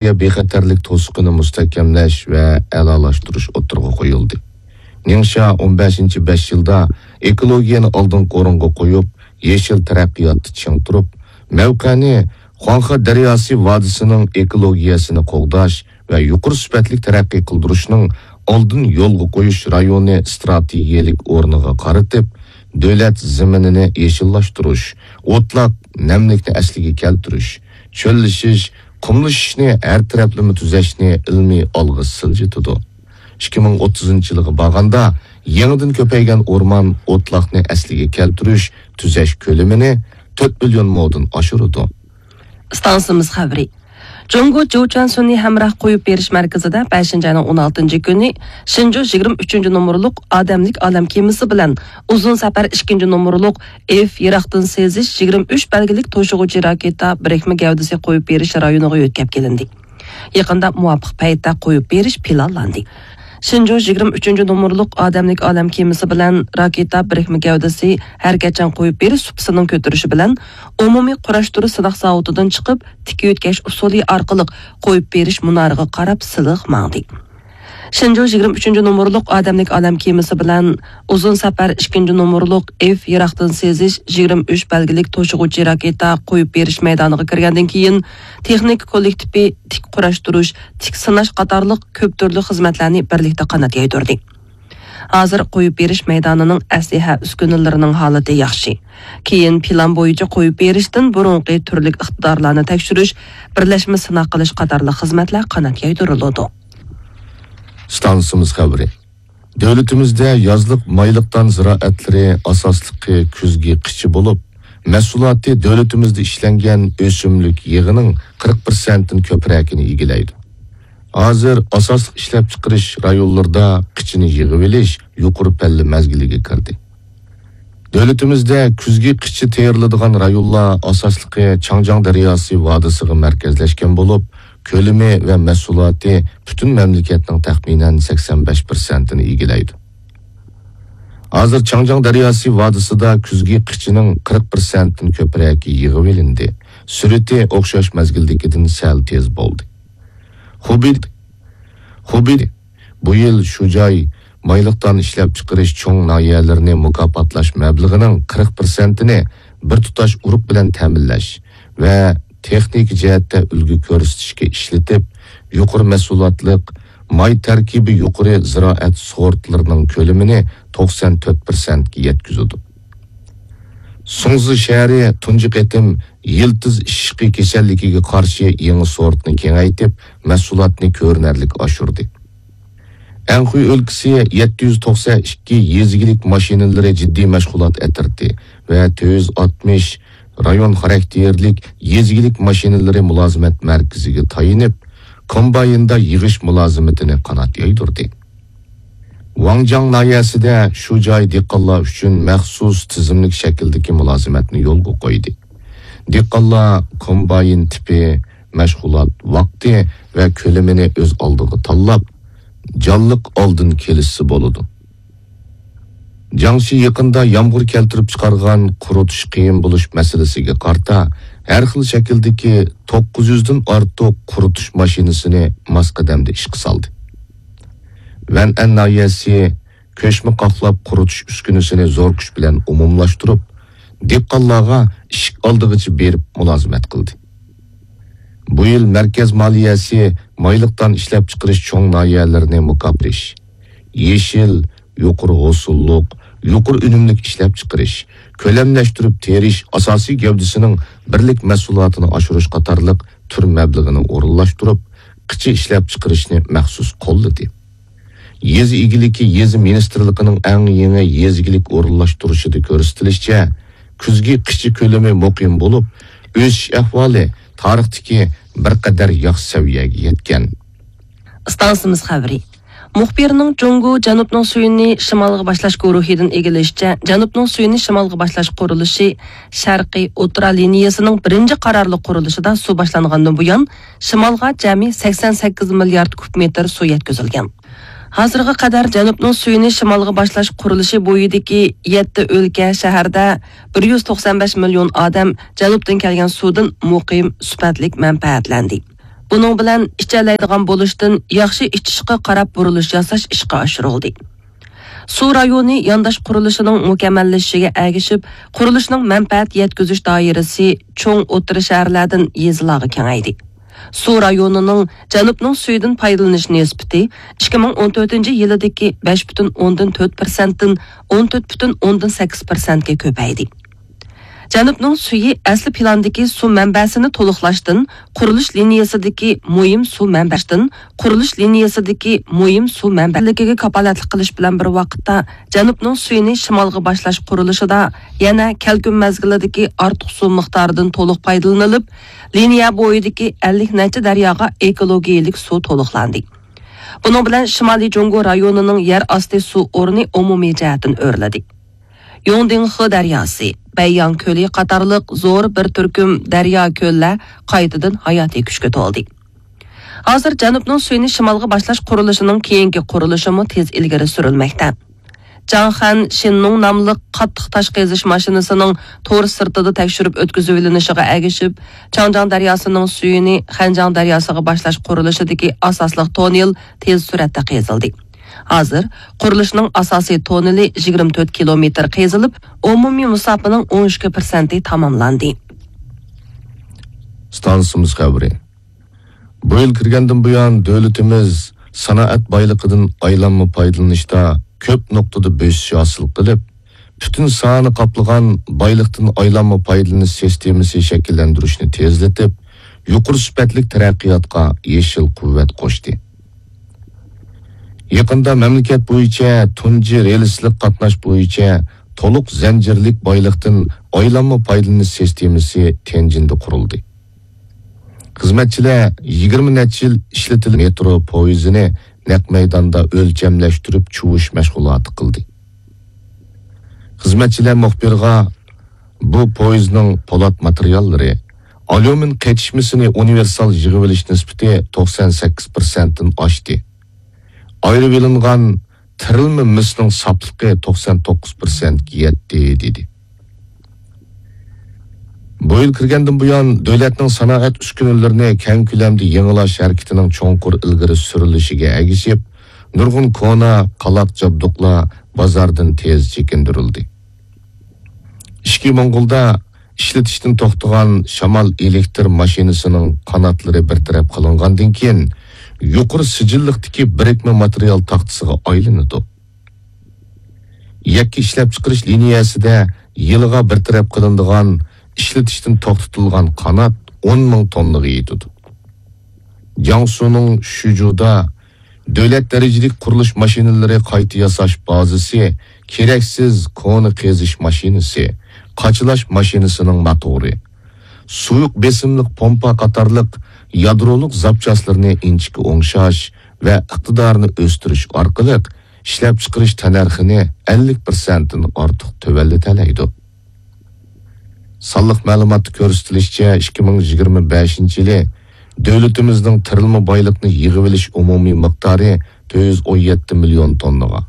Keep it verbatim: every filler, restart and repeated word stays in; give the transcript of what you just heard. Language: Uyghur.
ئېكولوگىيە بىخەتەرلىك توسۇقىنى مۇستەھكەملەش ۋە ئەلالاشتۇرۇش ئوتتۇرىغا قويۇلدى. نىڭشيا ئون بەشىنچى بەش يىلدا ئېكولوگىيەنى ئالدىنقى ئورۇنغا قويۇپ، يېشىل تەرەققىياتتا چىڭ تۇرۇپ، مەۋقەنى خۇاڭخې دەرياسى ۋادىسىنىڭ ئېكولوگىيەسىنى قوغداش ۋە يۇقىرى سۈپەتلىك تەرەققىي قىلدۇرۇشنىڭ ئالدىن يولغا قويۇش رايونى ئىستراتېگىيەلىك ئورنىغا قارىتىپ، دۆلەت زېمىنىنى يېشىللاشتۇرۇش، ئوتلاق نەملىكنى ئەسلىگە كەلتۈرۈش، چۆللىشىش، قۇملىشىشنى ھەر تەرەپلىمە تۈزەشنى ئىلمىي ئالغا سىلجىتىدۇ. ئىككى مىڭ ئوتتۇزىنچى يىلغا بارغاندا، يېڭىدىن كۆپەيگەن ئورمان ئوتلاقنى ئەسلىگە كەلتۈرۈش، تۈزەش كۆلىمىنى تۆت مىليون مودىن ئاشۇرىدۇ. ئىستانسىمىز خەۋىرى. جۇڭگو جۇچەن سۈنئىي ھەمراھ قويۇپ بېرىش مەركىزىدە بەشىنچى ئاينىڭ ئون ئالتىنچى كۈنى شېنجۇ يىگىرمە ئۈچىنچى نومۇرلۇق ئادەملىك ئالەم كېمىسى بىلەن ئۇزۇن سەپەر ئىككىنچى نومۇرلۇق ئېف يىراقتىن سېزىش يىگىرمە ئۈچ بەلگىلىك توشۇغۇچى راكېتا بىرىكمە گەۋدىسى قويۇپ بېرىش رايونىغا يۆتكەپ كېلىندى. يېقىندا مۇۋاپىق پەيتتە قويۇپ بېرىش پىلانلاندى. شېنجۇ يىگىرمە ئۈچىنچى نومۇرلۇق ئادەملىك ئالەم كېمىسى بىلەن راكېتا بىرىكمە گەۋدىسى ھەرىكەتچان قويۇپ بېرىش سۇپىسىنىڭ كۆتۈرۈشى بىلەن ئومۇمىي قۇراشتۇرۇش سىناق زاۋۇتىدىن چىقىپ، تىك يۆتكەش ئۇسۇلى ئارقىلىق قويۇپ بېرىش مۇنارىغا قاراپ سىلىق ماڭدى. شېنجۇ يىگىرمە ئۈچىنچى نومۇرلۇق ئادەملىك ئالەم كېمىسى بىلەن ئۇزۇن سەپەر ئىككىنچى نومۇرلۇق ئېف يىراقتىن سېزىش يىگىرمە ئۈچ بەلگىلىك توشۇغۇچى راكېتا قويۇپ بېرىش مەيدانىغا كىرگەندىن كېيىن، تېخنىكا كوللېكتىپى تىك قۇراشتۇرۇش، تىك سىناش قاتارلىق كۆپ تۈرلۈك خىزمەتلەرنى بىرلىكتە قانات يايدۇردى. ھازىر قويۇپ بېرىش مەيدانىنىڭ ئەسلىھە ئۈسكۈنىلىرىنىڭ ھالىتى ياخشى. كېيىن پىلان بويىچە قويۇپ بېرىشتىن بۇرۇنقى تۈرلۈك ئىقتىدارلارنى تەكشۈرۈش، بىرلەشمە سىناق قىلىش قاتارلىق خىزمەتلەر قانات يايدۇرۇلىدۇ. ئىستانسىمىز خەۋىرى. دۆلىتىمىزدە يازلىق مايلىق دان زىرائەتلىرى ئاساسلىقى كۈزگى قىچا بولۇپ، مەھسۇلاتى دۆلىتىمىزدە ئىشلەنگەن ئۆسۈملۈك يېغىنىڭ قىرىق پىرسەنتتىن كۆپرەكىنى ئىگىلەيدۇ. ھازىر ئاساسلىق ئىشلەپچىقىرىش رايونلىرىدا قىچىنى يىغىۋېلىش يۇقىرى پەللە مەزگىلىگە كىردى. دۆلىتىمىزدە كۈزگى قىچا تېرىلىدىغان رايونلار ئاساسلىقى چاڭجياڭ دەرياسى ۋادىسىغا مەركەزلەشكەن بولۇپ، كۆلىمى ۋە مەھسۇلاتى پۈتۈن مەملىكەتنىڭ تەخمىنەن سەكسەن بەش پىرسەنتىنى ئىگىلەيدۇ. ھازىر چاڭجياڭ دەرياسى ۋادىسىدا كۈزگى قىچىنىڭ قىرىق پىرسەنتتىن كۆپرەكى يىغىۋېلىندى. سۈرئىتى ئوخشاش مەزگىلدىكىدىن سەل تېز بولدى. خۇبېي، خۇبېي بۇ يىل شۇ جاي مايلىق دان ئىشلەپچىقىرىش چوڭ ناھىيەلىرىنى مۇكاپاتلاش مەبلىغىنىڭ قىرىق پىرسەنتىنى بىر تۇتاش ئۇرۇق بىلەن تەمىنلەش ۋە تېخنىكا جەھەتتە ئۈلگە كۆرسىتىشكە ئىشلىتىپ، يۇقىرى مەھسۇلاتلىق، ماي تەركىبى يۇقىرى زىرائەت سورتلىرىنىڭ كۆلىمىنى توقسان تۆت پىرسەنتكە يەتكۈزىدۇ. سۇڭزى شەھىرى تۇنجى قېتىم يىلتىز ئىششىقى كېسەللىكىگە قارشى يېڭى سورتنى كېڭەيتىپ، مەھسۇلاتنى كۆرۈنەرلىك ئاشۇردى. ئەنخۇي ئۆلكىسى يەتتە يۈز توقسان ئىككى يېزا ئىگىلىك ماشىنىلىرى جىددىي مەشغۇلات ئەترىتى ۋە تۆت يۈز ئاتمىش رايون خاراكتېرلىك يېزا ئىگىلىك ماشىنىلىرى مۇلازىمەت مەركىزىگە تايىنىپ، كومبايندا يىغىش مۇلازىمىتىنى قانات يايدۇردى. ۋاڭجاڭ ناھىيەسىدە شۇ جاي دېھقانلار ئۈچۈن مەخسۇس تىزىملىك شەكىلدىكى مۇلازىمەتنى يولغا قويدى. دېھقانلار كومباين تىپى، مەشغۇلات ۋاقتى ۋە كۆلىمىنى ئۆز ئالدىغا تاللاپ، جانلىق ئالدىن كېلىشسە بولىدۇ. جياڭشى يېقىندا يامغۇر كەلتۈرۈپ چىقارغان قۇرۇتۇش قىيىن بولۇش مەسىلىسىگە قارىتا، ھەر خىل شەكىلدىكى توققۇز يۈزدىن ئارتۇق قۇرۇتۇش ماشىنىسىنى ماس قەدەمدە ئىشقا سالدى. ۋەنئەن ناھىيەسى كۆچمە قاقلاپ قۇرۇتۇش ئۈسكۈنىسىنى زور كۈچ بىلەن ئومۇملاشتۇرۇپ، دېھقانلارغا ئىشىك ئالدىغىچە بېرىپ مۇلازىمەت قىلدى. بۇ يىل مەركەز مالىيەسى مايلىق دان ئىشلەپچىقىرىش چوڭ ناھىيەلىرىنى مۇكاپرىش، يېشىل، يۇقىرى ھوسۇللۇق، يۇقىرى ئۈنۈملۈك ئىشلەپچىقىرىش، كۆلەملەشتۈرۈپ تېرىش ئاساسىي گەۋدىسىنىڭ بىرلىك مەھسۇلاتىنى ئاشۇرۇش قاتارلىق تۈر مەبلىغىنى ئورۇنلاشتۇرۇپ، قىچا ئىشلەپچىقىرىشنى مەخسۇس قوللىدى. يېزا ئىگىلىكى يېزا مىنىستىرلىقىنىڭ ئەڭ يېڭى يېزا ئىگىلىك ئورۇنلاشتۇرۇشىدا كۆرسىتىلىشىچە، كۈزگى قىچا كۆلىمى مۇقىم بولۇپ، ئۆسۈش ئەھۋالى تارىختىكى بىر قەدەر ياخشى سەۋىيەگە يەتكەن. ئىستانسىمىز خەۋىرى. مۇخبىرنىڭ جۇڭگو جەنۇبنىڭ سۈيىنى شىمالغا باشلاش گۇرۇھىدىن ئىگىلىشىچە، جەنۇبنىڭ سۈيىنى شىمالغا باشلاش قۇرۇلۇشى شەرقىي ئوتتۇرا لىنىيەسىنىڭ بىرىنچى قارارلىق قۇرۇلۇشىدا سۇ باشلانغاندىن بۇيان، شىمالغا جەمئىي سەكسەن سەككىز مىليارد كۇب مېتىر سۇ يەتكۈزۈلگەن. ھازىرغا قەدەر جەنۇبنىڭ سۈيىنى شىمالغا باشلاش قۇرۇلۇشى بويىدىكى يەتتە ئۆلكە، شەھەردە بىر يۈز توقسان بەش مىليون ئادەم جەنۇبتىن كەلگەن سۇدىن مۇقىم، سۈپەتلىك مەنپەئەتلەندى. بۇنىڭ بىلەن ئىچەلەيدىغان بولۇشتىن ياخشى ئىچىشقا قاراپ بۇرۇلۇش ياساش ئىشقا ئاشۇرۇلدى. سۇ رايونى يانداش قۇرۇلۇشىنىڭ مۇكەممەللىشىشىگە ئەگىشىپ، قۇرۇلۇشنىڭ مەنپەئەت يەتكۈزۈش دائىرىسى چوڭ ئوتتۇرا شەھەرلەردىن يېزىلارغا كېڭەيدى. سۇ رايونىنىڭ جەنۇبنىڭ سۈيىدىن پايدىلىنىش نىسبىتى ئىككى مىڭ ئون تۆتىنچى يىلىدىكى بەش پۈتۈن ئوندىن تۆت پىرسەنتتىن ئون تۆت پۈتۈن ئوندىن سەككىز پىرسەنتكە كۆپەيدى. جەنۇبنىڭ سۈيى ئەسلى پىلاندىكى سۇ مەنبەسىنى تولۇقلاشتىن، قۇرۇلۇش لىنىيەسىدىكى مۇھىم سۇ مەنبەسىدىن، قۇرۇلۇش لىنىيەسىدىكى مۇھىم سۇ مەنبەلىكىگە كاپالەتلىك قىلىش بىلەن بىر ۋاقىتتا، جەنۇبنىڭ سۈيىنى شىمالغا باشلاش قۇرۇلۇشىدا يەنە كەلكۈن مەزگىلىدىكى ئارتۇق سۇ مىقدارىدىن تولۇق پايدىلىنىلىپ، لىنىيە بويىدىكى ئەللىك نەچچە دەرياغا ئېكولوگىيەلىك سۇ تولۇقلاندى. بۇنىڭ بىلەن شىمالىي جۇڭگو رايونىنىڭ يەر ئاستى سۇ ئورنى ئومۇمىي جەھەتتىن ئۆرلىدى. يۇڭدىڭخې دەرياسى، بەيياڭ كۆلى قاتارلىق زور بىر تۈركۈم دەريا، كۆللەر قايتىدىن ھاياتىي كۈچكە تولدى. ھازىر جەنۇبنىڭ سۈيىنى شىمالغا باشلاش قۇرۇلۇشىنىڭ كېيىنكى قۇرۇلۇشىمۇ تېز ئىلگىرى سۈرۈلمەكتە. جاڭخەن شىننۇڭ ناملىق قاتتىق تاش قېزىش ماشىنىسىنىڭ تور سىرتىدا تەكشۈرۈپ ئۆتكۈزۈۋېلىنىشىغا ئەگىشىپ، چاڭجياڭ دەرياسىنىڭ سۈيىنى خەنجياڭ دەرياسىغا باشلاش قۇرۇلۇشىدىكى ئاساسلىق توننېل تېز سۈرئەتتە قېزىلدى. ھازىر قۇرۇلۇشنىڭ ئاساسىي توننېلى يىگىرمە تۆت كىلومېتىر قېزىلىپ، ئومۇمىي مۇساپىنىڭ ئون ئىككى پىرسەنتى تاماملاندى. ئىستانسىمىز خەۋىرى. بۇ يىل كىرگەندىن بۇيان، دۆلىتىمىز سانائەت بايلىقىدىن ئايلانما پايدىلىنىشتا كۆپ نۇقتىدا بۆسۈش ھاسىل قىلىپ، پۈتۈن ساھەنى قاپلىغان بايلىقتىن ئايلانما پايدىلىنىش سىستېمىسى شەكىللەندۈرۈشنى تېزلىتىپ، يۇقىرى سۈپەتلىك تەرەققىياتقا يېشىل قۇۋۋەت قوشتى. يېقىندا مەملىكەت بويىچە تۇنجى رېلىسلىق قاتناش بويىچە تولۇق زەنجىرلىك بايلىقتىن ئايلانما پايدىلىنىش سىستېمىسى تيەنجىندە قۇرۇلدى. خىزمەتچىلەر يىگىرمە نەچچە يىل ئىشلىتىلگەن مېترو پويىزىنى نەق مەيداندا ئۆلچەملەشتۈرۈپ چۇۋۇش مەشغۇلاتى قىلدى. خىزمەتچىلەر مۇخبىرغا بۇ پويىزنىڭ پولات ماتېرىياللىرى، ئاليۇمىن قېتىشمىسىنى ئۇنىۋېرسال يىغىۋېلىش نىسبىتى توقسان سەككىز پىرسەنتتىن ئاشتى. ئايرىۋېلىنغان تىرىلما مىسنىڭ ساپلىقى توقسان توققۇز پىرسەنتكە يەتتى، دېدى. بۇ يىل كىرگەندىن بۇيان، دۆلەتنىڭ سانائەت ئۈسكۈنىلىرىنى كەڭ كۆلەمدە يېڭىلاش ھەرىكىتىنىڭ چوڭقۇر ئىلگىرى سۈرۈلۈشىگە ئەگىشىپ، نۇرغۇن كونا، قالاق جابدۇقلار بازاردىن تېز چېكىندۈرۈلدى. ئىچكى موڭغۇلدا ئىشلىتىشتىن توختىغان شامال ئېلېكتر ماشىنىسىنىڭ قاناتلىرى بىر تەرەپ قىلىنغاندىن كېيىن، يۇقىرى سىجىللىقتىكى بىرىكمە ماتېرىيال تاختىسىغا ئايلىنىدۇ. يەككە ئىشلەپچىقىرىش لىنىيەسىدە يىلىغا بىر تەرەپ قىلىنىدىغان ئىشلىتىشتىن توختىتىلغان قانات ئون مىڭ توننىغا يېتىدۇ. جياڭسۇنىڭ شۈجۇدا دۆلەت دەرىجىلىك قۇرۇلۇش ماشىنىلىرى قايتا ياساش بازىسى، كېرەكسىز كونا قېزىش ماشىنىسى، قاچىلاش ماشىنىسىنىڭ موتورى، سۇيۇق بېسىملىق پومپا قاتارلىق يادرولۇق زاپچاسلىرىنى ئىنچىكە ئوڭشاش ۋە ئىقتىدارىنى ئۆستۈرۈش ئارقىلىق، ئىشلەپچىقىرىش تەننەرخىنى ئەللىك پىرسەنتتىن ئارتۇق تۆۋەنلىتەلەيدۇ. سانلىق مەلۇماتتا كۆرسىتىلىشىچە، ئىككى مىڭ يىگىرمە بەشىنچى يىلى دۆلىتىمىزنىڭ تىرىلما بايلىقنى يىغىۋېلىش ئومۇمىي مىقدارى تۆت يۈز ئون يەتتە مىليون توننىغا،